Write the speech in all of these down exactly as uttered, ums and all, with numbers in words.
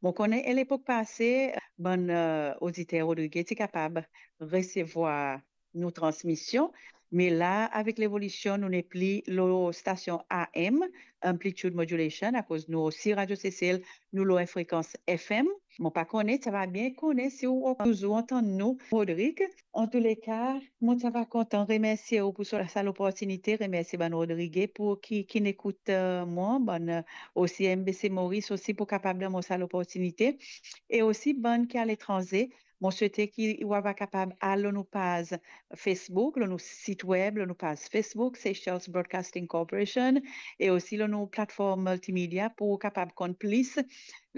Mo kone, ena lepok pase, bann, eh, oditer Rodrige ti kapab resevwar nou transmision, me la, avek levolision, nou nepli lor stasion A M, amplitude modulation, akoz nou osi, Radio Sesel, nou lor enn frekans F M. Mo pa kone, ti ava bien kone si ou touzour antann nou, Rodrig. Antouleka, mo ti ava kontan remersie ou pou sa, sa loportinite, remersie bann Rodrige pou ki, ki ekout, eh, mwa, bann, eh, osi M B C Maurice osi pou kapab donn mwa sa loportinite, e osi bann ki aletranze. Mo swete ki ou ava kapab al lor nou paz Facebook, lor nou sit web, lor nou paz Facebook, Seychelles Broadcasting Corporation, e osi lor nou platform multimedia pou ou kapab konn plis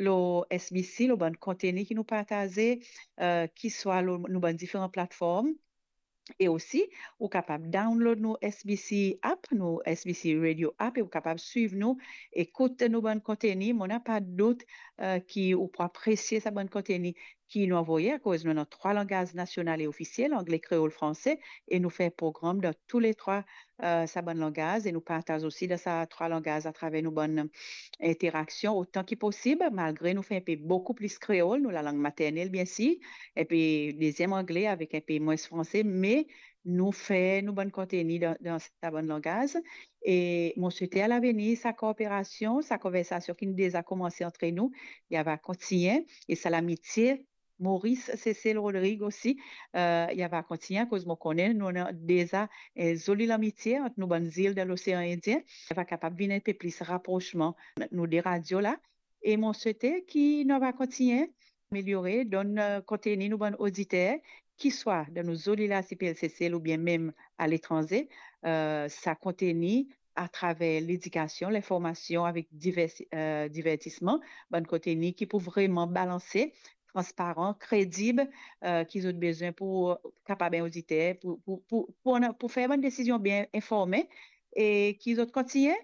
lor S B C, lor bann konteni ki nou partaze, eh, ki swa lor nou bann diferan platform. E osi, ou kapab download nou S B C app, nou S B C Radio app, e ou kapab swiv nou, ekout nou bann konteni. Mo napa dout, eh, ki ou pou apresie sa bann konteni ki nou anvoye, akoz nou ena trwa langaz nasional e ofisiel, angle, kreol, franse, e nou fer program dan tou le trwa, eh, sa bann langaz, e nou partaz osi dan sa trwa langaz atraver nou bann interaksion otan ki posib, malgre nou fer enpe boukou plis kreol, nou lalang maternel, biensir, epi deziem angle avek enpe mwins franse, me nou fer nou bann konteni dan, dan sa bann langaz. E mo swete alavenir sa kooperasion, sa konversasion ki deza koumanse antre nou, li ava kontigne, e sa lamitie Maurice, Sesel, Rodrig osi, eh, li ava kontigne, akoz mo kone nou ena deza, eh, zoli lamitie ant nou bann zil dan Losean Indien. Li ava kapab vinn enpe plis raprosman nou de radio la. E mo swete ki nou ava kontigne ameliore, donn, eh, konteni nou bann oditer, ki swa dan nou zoli larsipel Sesel oubien mem aletranze, eh, sa konteni atraver ledikasion, linformasion avek divers-, eh, divertisman, bann konteni ki pou vreman balanse, transparan, kredib, eh, ki zot bizin pou kapab enn oditer, pou, pou, pou, pou, pou fer bann desizion bien informe, e ki zot kontigne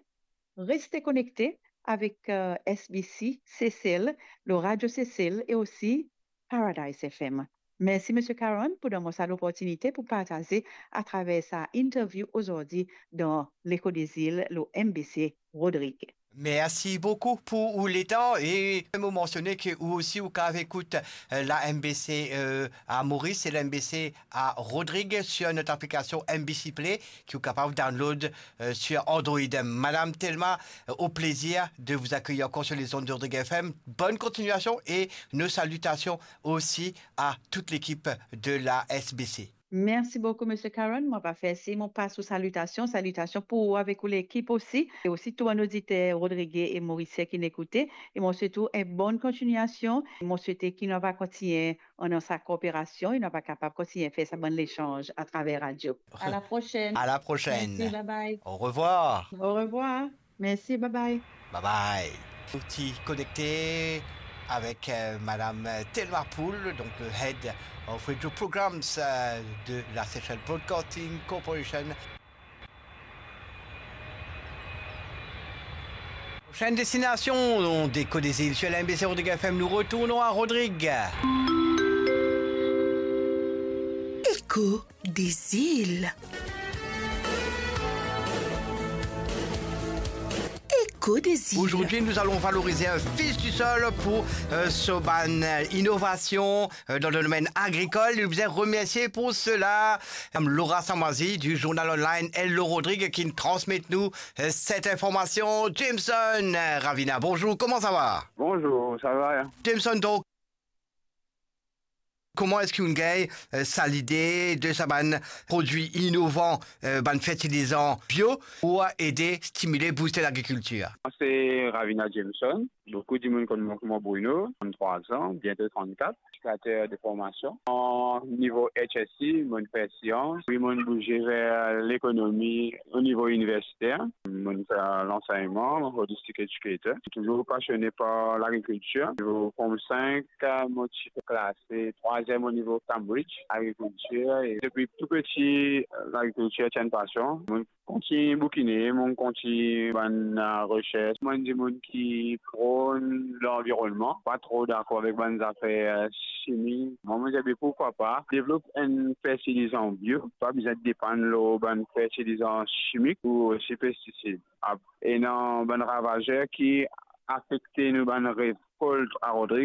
reste konekte avek, eh, S B C Sesel, lor Radio Sesel e osi Paradise F M. Mersi, Misie Caron, pou donn mwa sa loportinite pou partaze atraver sa interview azordi dan Leko de Zil lor M B C Rodrig. Mersi boukou pou ou letan e mo mansione ki ou osi ou kapav ekout, eh, la M B C, eh, a Moris e la M B C a Rodrig sur notre application M B C Play ki ou kapav download, eh, sur Android. Madame Thelma, eh, au plaisir de vous accueillir encore sur les ondes de Rodrig F M. Bonne continuation et nos salutations aussi à toute l'équipe de la S B C. Mersi boukou, Misie Caron. Mo pa fer si mo pas ou salitasion. Salitasion pou ou avek ou lekip osi. E osi tou bann oditer Rodrig e Morisien ki ekoute. E mo swet ou enn bonn kontignasion. Mo swete ki nou ava kontigne annan sa kooperasion e nou ava kapab kontigne fer sa bann lesanz atraver radio. A la prosenn. À la prochaine. Mersi, bye bye. Au revoir. Au revoir. Mersi, bye bye. Bye bye. Nou ti konekte avek, eh, Madame Thelma Pool, donc, eh, Head of Radio Programs, eh, de la Seychelles Broadcasting Corporation. Prochaine destination, on décolle des îles sur la M B C Rodrigues F M. Nous retournons à Rodrigues. Écho des îles. Écho des îles. Aujourd'hui, nous allons valoriser un fils du sol pour, euh, so bann, euh, innovation, euh, dans le domaine agricole. Nous voulons remercier pour cela, euh, Laura Samoisi du journal online Hello Rodrigues qui nous transmet, nous, euh, cette information. Jameson, euh, Ravina, bonjour, comment ça va ? Bonjour, ça va, hein ? Jameson, donc, comment est-ce que vous avez, euh, sa l'idée de sa bann produit inovan, euh, bann fertilizan bio pour aider, stimuler, booster l'agriculture ? C'est Ravina Jameson. Boukou dimoun konn mwa kouma Bruno, tranntrwa an, biento trannkat, éducateur de formation. An nivo H S C, mo'nn fer sians, wi, mo'nn bouze ver lekonomi o nivo iniversiter. Mo'nn fer lansegnman, holistic educator. Touzour pasione par lagrikiltir. Nivo Form fink, mo ti klase trwaziem o nivo Cambridge, agrikiltir. E depi tou piti, lagrikiltir ti enn pasion. Mo'nn kontign boukine, mo'nn kontign bann, euh, resers. Mo'nn dimoun ki pronn lanvironnman, pa tro dakor avek bann zafer, euh, simi. Mwa, mo'nn dir, be, pourquoi pas devlop enn fertilizan bio, pa bizin depann lor bann fertilizan simik ou osi pestisid. Ap-, ena bann ravazer ki afekte nou bann rekolt a Rodrig,